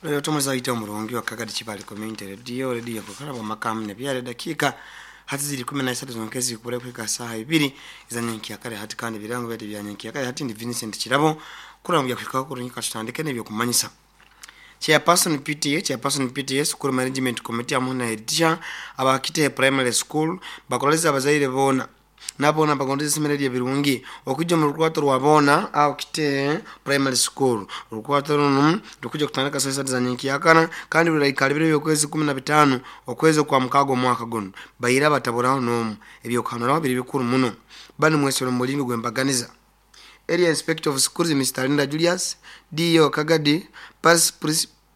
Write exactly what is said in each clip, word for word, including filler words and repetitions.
Leo tumazaita omurungi wa Kagadi Kibale Community Radio, radio kukaraba makamu ne byale dakika hati ziri kumi na isatu zonkezi kure kwika saha ibiri izanyenki yakare hati kandi birango byati byanyenki yakare hati ndi Vincent Kirabo kurambya kwika kurunyika tutandike nebyo kumanyisa. Chairperson P T A, Chairperson P T A, School Management Committee amuna edition abakite primary school bakoleza abazaire bona nabona bagondeze semereri birungi okujja mu rukwato rwabona aho kite primary school rukwato runo rukujja kutandika saa sita za nyenkiyakana kandi ruraikala biro byokwezi kumi na bitano okwezi kwa mukago mwaka guno bayira bataboraho nomu ebyo kanora biri bikuru muno bani mwesero mulingo gwembaganiza. Area Inspector of Schools Mister Linda Julius D O Kagadi Paris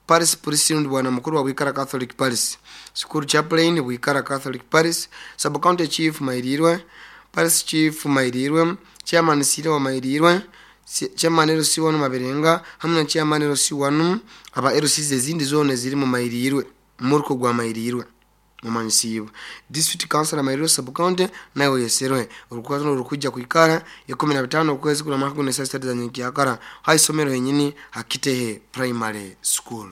Paris President bwana mukuru wa Bwikara Catholic Parish School Chaplain Bwikara Catholic Parish Sub County Chief Mairirwe Parish Chief Mairirwe Chairman Sire wa Mairirwe Chairman L C one Maberenga hamwe na Chairman L C one aba L Cs ezindi zone ziri mu Mairirwe muruko gwa Mairirwe mumanisiwe District Council Mairirwe Sub County nayo yeserwe urukwazo rukujja kuikara ya kumi na bitano okwezi kuna mwaka gune saa sita za nyenkiyakara hai somero yenyini Hakitehe Primary School.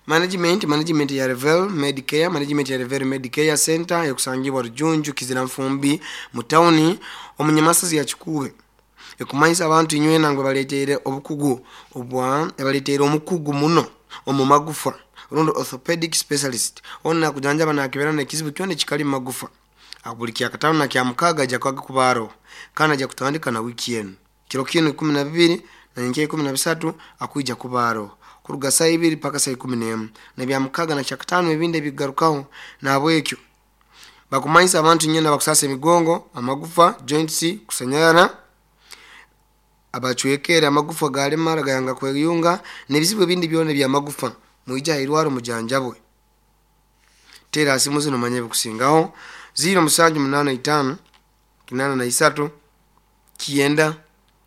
Management management ya Revel Medicare management ya Revel Medicare Center yakusangibwa Rujunju Kizira Mfumbi mu town omunyamasazi ya Kikuube ekumanyisa abantu inywe nangwe baletere obukugu obwa ebaletere omukugu muno omu magufa rundo orthopedic specialist ona kujanjaba na kibera na kizibu kyone kikali magufa abuli kya katano na kya mukaga ja kwaga kubaro kana ja kutandika na wiki yenu kiro kino kumi na bibiri na nyenke kumi na bisatu akuija kubaro kuruga saa ibiri paka saa ikumi n'emu na bya mukaga na kya katano ebindi bigarukaho na bwekyo bakumanyisa abantu nyena bakusasa emigongo amagufa joints kusanyara abachwekera amagufa galemara gayanga kweyunga nebizibu ebindi byone bya magufa muija irwaro mujanjabwe tera asimu zino manye bikusingaho zero musanju munana itano kinana na isatu kienda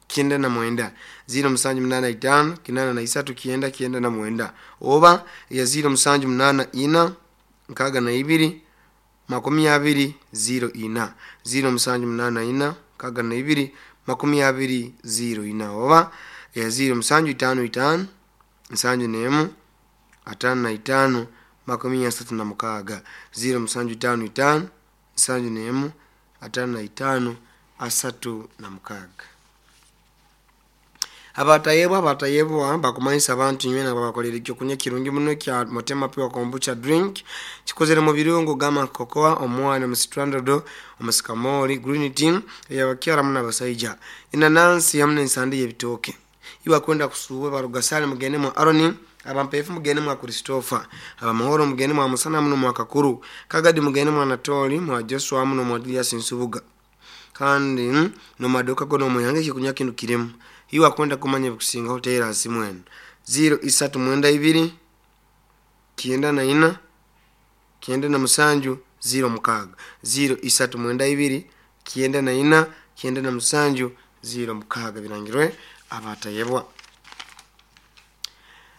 kienda na mwenda zero musanju munana itano kinana na isatu kienda kienda na mwenda oba ya zero musanju munana ina nkaga na ibiri makumi abiri zero ina zero musanju munana ina nkaga na ibiri makumi abiri zero ina oba ya zero musanju itano itano nsanju nemu atano na itano makumi asatu na mukaga zero musanju itano itano nsanju nemu atano na itano asatu na mukaga. Abatayebwa abatayebwa bakumanyisa abantu nywena babakolera ekyokunywa kirungi muno kya Motema Pure Kombucha drink kikozere mu birungo gama cocoa omwana omusitrandodo omusikamoli green tea eyabakyala muno abasaija inanansi hamwe n'ensande y'ebitooke iwa kwenda kusuuba barugasale mugende mu Aroni abampefu mugende mwa Christopher abamahoro mugende mwa Musana muno mwa Kakuru Kagadi mugende mwa Anatoli mwa Joshua muno mwa Julius Nsubuga kandi no madoka gono muyange kikunya kintu kiremu iwa kwenda kumanya bikusinga hotela asimwenu zero isatu mwenda ibiri kienda na ina kienda na musanju zero mukaga zero isatu mwenda ibiri kienda na ina kienda na musanju zero mukaga birangirwe abatayebwa.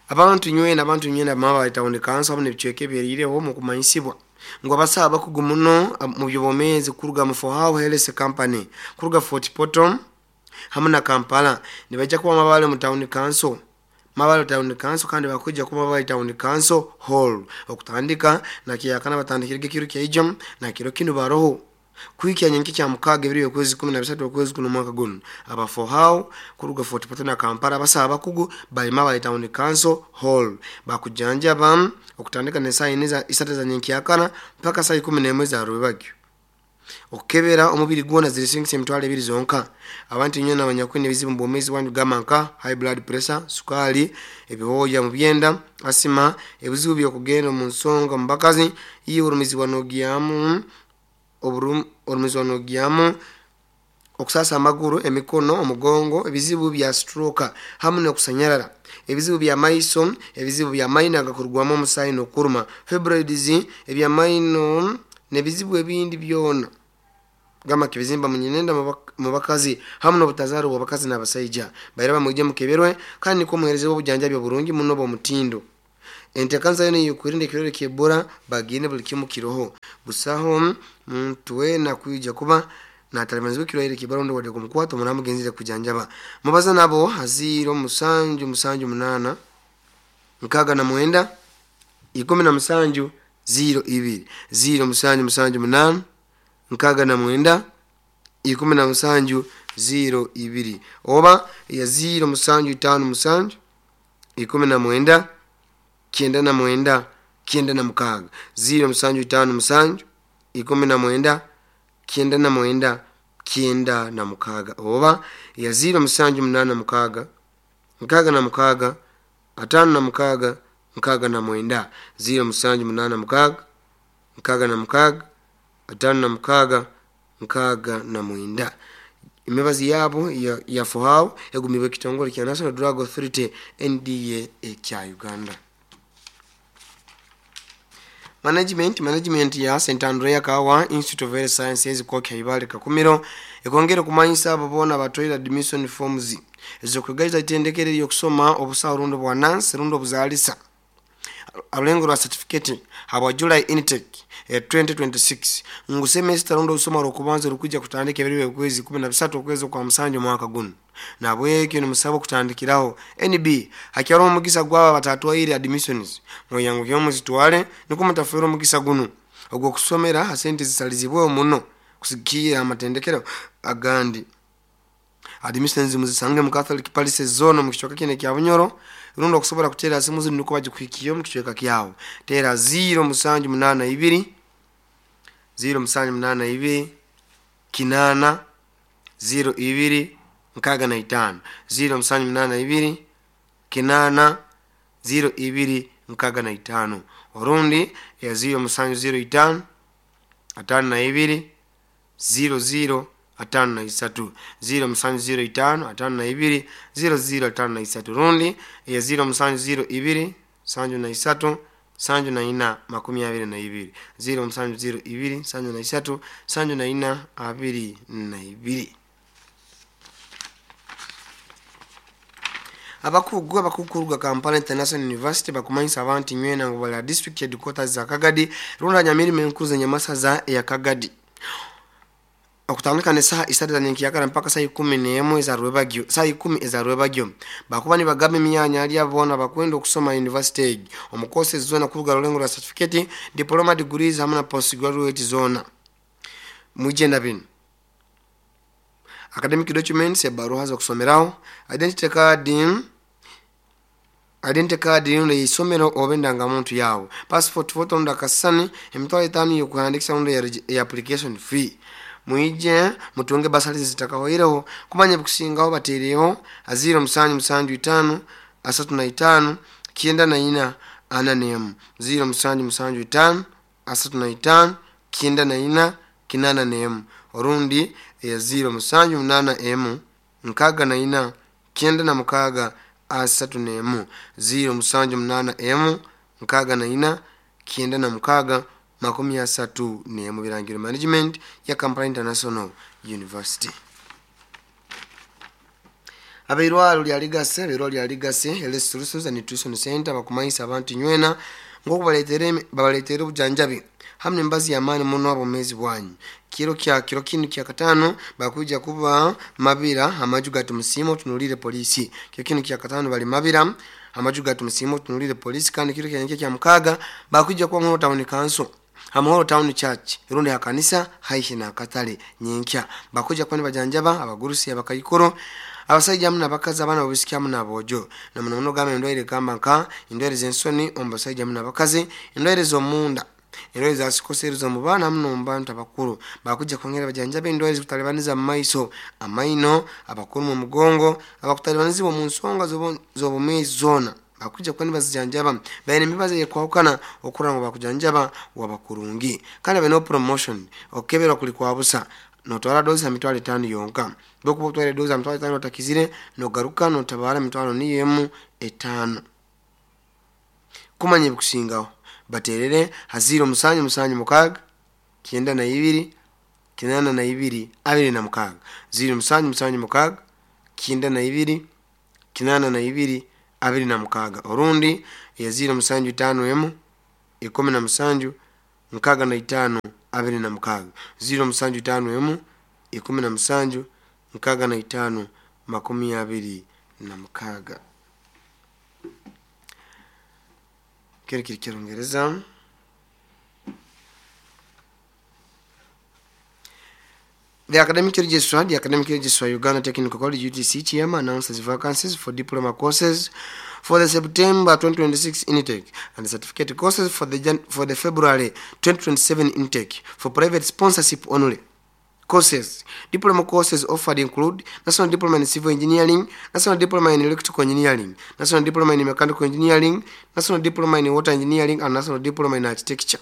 Abantu nywena abantu nywena maba itaonekana sababu nebichweke byerireho mu kumanyisibwa ngo abasaba kugumuno mu byobomezi kuruga mu For Health Company kuruga Fort Portal hamwe na Kampala nibajja kuba mabale mu town council mabale town council kandi bakujja kuba mabale town council hall okutandika na kiyakana batandikirege kiro kya na kiro kino baroho kuikia nyenki kya mukaga ebiri okwezi kumi na bisatu okwezi kuno mwaka guno aba For How kuruga Fort Portal na Kampala basaba kugu bali mabale town council hall bakujanja bam okutandika ne saa ine za isatu za nyenki yakana mpaka saa ikumi n'emwe za rubagyo okukebera omubiri gwona zirisingisa emitwalo ebiri zonka abantu nyona abanyakwine ebizibu mu bwomeezi bwanyu gamba nka high blood pressure sukali ebihooya mu byenda asima ebizibu by'okugenda mu nsonga mu bakazi iyo orumizibwa n'ogyamu orumizibwa n'ogyamu okusasa amaguru emikono omugongo ebizibu bya stroke hamwe n'okusanyarara ebizibu bya maiso ebizibu bya maino agakurugwamu omusaayi n'okuruma fibroids ebya maino nebizibu ebindi byona gama kibizimba munyenenda mu bakazi hamwe n'obutazaaro bw'abakazi n'abasaija baira bamwije mukeberwe kandi niko muhereze obujanjabi oburungi muno bw'omutindo entekanza yone yokurinda ekirore ky'Ebola bagine buli kimu kiroho busaho muntu wena kuija kuba Natalibanizibwa ekirwaire kibarondo wadde kumukwata omunamu genzire kujanjaba. Mubaza nabo ziro musanju musanju munana nkaga na mwenda ikumi na musanju ziro ibiri ziro musanju musanju munana nkaga na mwenda ikumi na musanju ziro ibiri oba ya ziro musanju itano musanju ikumi na mwenda kyenda na mwenda kyenda na mukaaga ziro musanju itano musanju ikumi na mwenda kyenda na mwenda kyenda na mukaaga oba ya ziro musanju munana mukaaga nkaaga na mukaaga atano na mukaaga nkaaga na mwenda ziro musanju munana mukaaga nkaaga na mukaaga atano na mukaaga nkaaga na mwenda. Emibazi yabo ya, ya fohau egumibwa ekitongole kya National Drug Authority N D A ekya Uganda. Management management ya Saint Andrea Kawa Institute of Health Sciences Koki Ibale Kakumiro ekongera kumanyisa abo bona batwire admission forms ezokwegaiza itendekere lyokusoma obusawo rundo bwa nurse rundo buzalisa alulengo lwa certificate habwa July intake eh, twenty twenty-six ngu semester rundo usoma rokubanza rukuja kutandika ebiri kwezi kumi na bisatu okwezi kwa musanju mwaka guno nabwekyo ni musabo kutandikiraho N B hakyaro omugisa gwaba batatwaire admissions muyangu kyomuzitwale niko mutafero omugisa guno ogwo kusomera asente zisalizibwe muno kusikia amatendekero agandi. Admissions muzisange mu Catholic Palace zone mu kichweka kine kya Bunyoro rundo kusobola kutera simu zinu niko bajikwikiyo mu kichweka kyawo tera ziro musanju munana ibiri ziro musanju munana ibiri kinana ziro ibiri nkaga na itano ziro musanju munana ibiri kinana ziro ibiri nkaga na itano orundi ya ziro musanju ziro itano atano na ibiri ziro ziro atano na isatu ziro musanju ziro itano atano na ibiri ziro ziro atano na isatu rundi ya ziro musanju ziro ibiri sanju na isatu sanju na ina makumi abiri na ibiri ziro musanju ziro ibiri sanju na isatu sanju na ina abiri na ibiri. Abakugu abakukuruga Kampala International University bakumanyisa abantu nywena ngo bala district headquarters za Kagadi runda nyamirimo enkuru za nyamasaza ya Kagadi okutandika ne saha isatu za nyenkiyakara mpaka saa ikumi n'emwe za rwebagyo saa ikumi eza rwebagyo bakuba nibagamba emyanya ali abona bakwenda okusoma university egi omu courses zona kuruga rulengo lwa certificate diploma degrees hamwe na postgraduate zona mwijenda bino academic documents ebaruha zokusomeraho identity card identity card yuno isomero oba muntu yawo passport photo nda kasani emitwalo etaano yokuhandikisa rundo ya application fee mwije mutunge basali zitakahoireho kumanya bukusingaho batereho aziro musanju musanju itano asatu na itano kienda na ina ana nemu ziro musanju musanju itano asatu na itano kienda na ina kinana nemu orundi ya ziro musanju munana emu nkaga na ina kienda na mukaga asatu nemu ziro musanju munana emu nkaga na ina kienda na mukaga makumi asatu nemu. Birangiro management ya Kampala International University. Abeirwalo lya Ligase abeirwalo lya Ligase Health Solutions and Nutrition Center bakumanyisa abantu nywena ngokubaletere babaletere obujanjabi hamwe embazi y'amaani muno abomezi bwanyu kiro kya kiro kinu kya katano bakuja kuba mabira amaju gatumusimo tunulire polisi kiro kinu kya katano bali mabira amaju gatumusimo tunulire polisi kandi kiro kya kya mukaga bakuja kuba mu town council Amahoro Town Church irundi ya kanisa haihi na katale nyenkya bakuja kwani bajanjaba abagurusi abakayikoro abasajja hamwe n'abakazi abaana babisiki hamwe n'aboojo na muno muno gamba endwaire gamba nka endwaire z'ensoni omu basajja hamwe n'abakazi endwaire z'omunda endwaire za sikoseri z'omu baana hamwe n'omu bantu abakuru bakuja kwongera bajanjaba endwaire zikutalibaniza mu maiso amaino abakuru mu mugongo abakutalibanizibwa mu nsonga z'obumeezi zoona bakuja kwani bazijanjaba baine emibazi ekwahukana okura ngo bakujanjaba wabakurungi kandi bano promotion okebera kuli kwa busa notwara dozi ya mitwalo etano yonka bokuba otwara dozi ya mitwalo etano otakizire nogaruka notabara mitwalo niyo emu etano kumanya ebikusingaho baterere haziro musanju musanju mukaga kyenda na ibiri kinana na ibiri abiri na mukaga ziro musanju musanju mukaga kyenda na ibiri kinana na ibiri abiri na mukaga orundi ya ziro musanju tano emu ikumi na musanju mukaga na itano abiri na mukaga ziro musanju tano emu ikumi na musanju nkaaga na itaano makumi abiri na mukaaga. Kiri kiri Kirungereza. The Academic Registrar, the Academic Registrar, Uganda Technical College, U T C, Kiama, announces vacancies for diploma courses for the September twenty twenty-six intake and certificate courses for the Jan- for the February twenty twenty-seven intake for private sponsorship only. Courses. Diploma courses offered include National Diploma in Civil Engineering, National Diploma in Electrical Engineering, National Diploma in Mechanical Engineering, National Diploma in Water Engineering, and National Diploma in Architecture.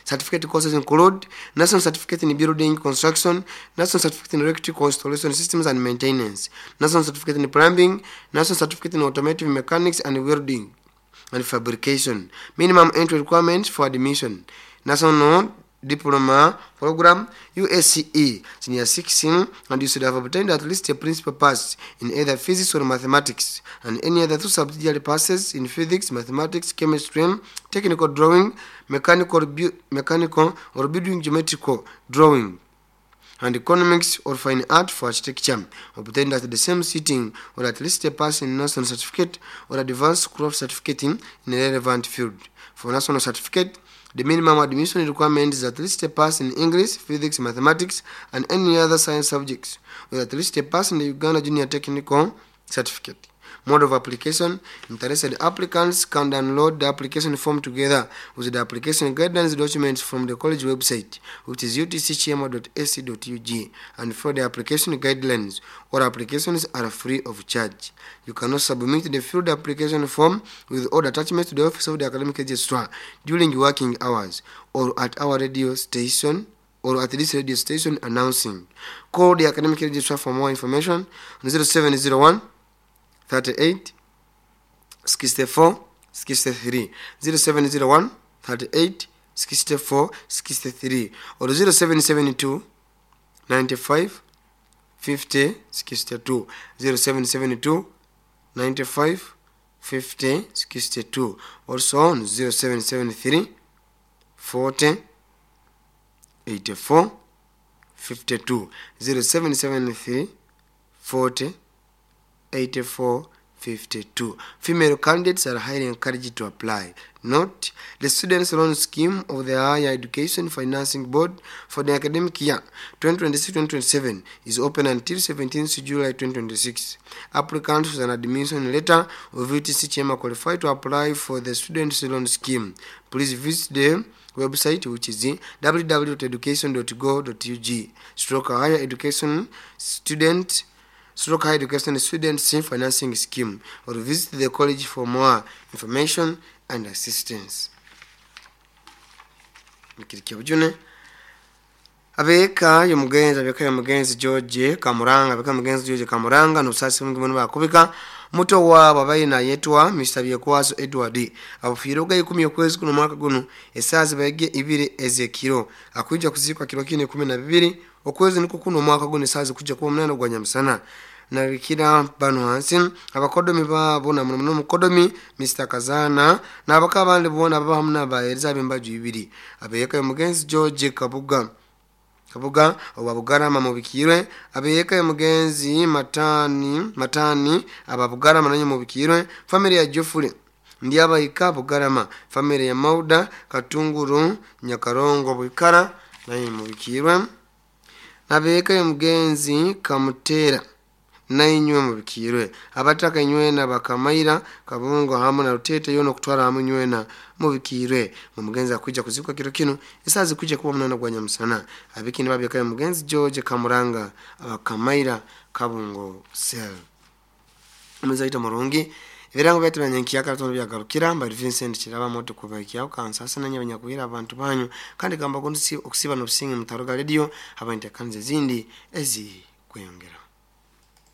Certificate courses include National Certificate in Building Construction, National Certificate in Electrical Installation Systems and Maintenance, National Certificate in Plumbing, National Certificate in Automotive Mechanics and Welding and Fabrication. Minimum entry requirements for admission: National Diploma Program, U S C E, Senior six, and you should have obtained at least a principal pass in either physics or mathematics, and any other two subsidiary passes in physics, mathematics, chemistry, technical drawing, mechanical, bu- mechanical or building geometrical drawing, and economics or fine art for architecture, obtained at the same sitting, or at least a pass in national certificate or advanced craft certificate in a relevant field. For national certificate, the minimum admission requirement is at least a pass in English, physics, mathematics, and any other science subjects, or at least a pass in the Uganda Junior Technical Certificate. Mode of application: interested applicants can download the application form together with the application guidance documents from the college website, which is U T C chiama dot A C dot U G, and for the application guidelines, all applications are free of charge. You can also submit the filled application form with all attachments to the office of the academic registrar during working hours or at our radio station or at this radio station announcing. Call the academic registrar for more information on zero seven zero one thirty-eight sixty-four sixty-three, zero seven zero one thirty-eight sixty-four sixty-three, or zero seven seven two ninety-five fifty sixty-two, zero seven seven two ninety-five fifty sixty-two, also on zero seven seven three forty eighty-four fifty-two, zero seven seven three forty eighty-four fifty-two. Female candidates are highly encouraged to apply. Note, the Students' Loan Scheme of the Higher Education Financing Board for the academic year twenty twenty-six twenty twenty-seven is open until seventeenth July twenty twenty-six. Applicants with an admission letter of U T C Chiama qualify to apply for the Students' Loan Scheme. Please visit the website, which is w w w dot education dot gov dot u g stroke higher education student stroke higher education students financing scheme, or visit the college for more information and assistance. Nikirikia abeka yomugenzi abeka yomugenzi George Kamuranga abeka yomugenzi George Kamuranga nusasi mungi muno bakubika muto wa babaina yetwa Mister Byekwaso Edward abufiroga ikumi okwezi kuno mwaka guno esazi bayege ibiri ezekiro akuja kuzikwa kiro kine kumi na bibiri okwezi niko kuno mwaka guno esazi kuja kuba munana gwa nyamusana nabikira bano hansi abakodomi babo na muno mukodomi Mister Kazana nabakabandi bona baba hamna bahereza bembaju ibiri abeyeka yomugenzi George Kabuga Kabuga obabugarama mubikirwe abeyeka yomugenzi Matani Matani ababugarama nanyo mubikirwe family ya Geoffrey ndi abayika bugarama family ya Mauda Katunguru Nyakarongo Bwikara nanyo mubikirwe nabeyeka yomugenzi Kamutera nainywe mubikirwe abataka nywena bakamaira kabungo hamu na rutete yono kutwara hamu nywena mubikirwe mumugenzi akuja kuzikwa kiro kino esazi kuja kuba munana gwa nyamusana abikini babeka mugenzi George Kamuranga abakamaira kabungo sel muzaita murungi ebirango byatu banyankiya katono byagarukira mbali Vincent Kiraba moto kubaikya kansasa nanya banyakuhira abantu banyu kandi gamba gondi okusiba no businge mutaruga radio abantu kanze zindi ezi kweyongera.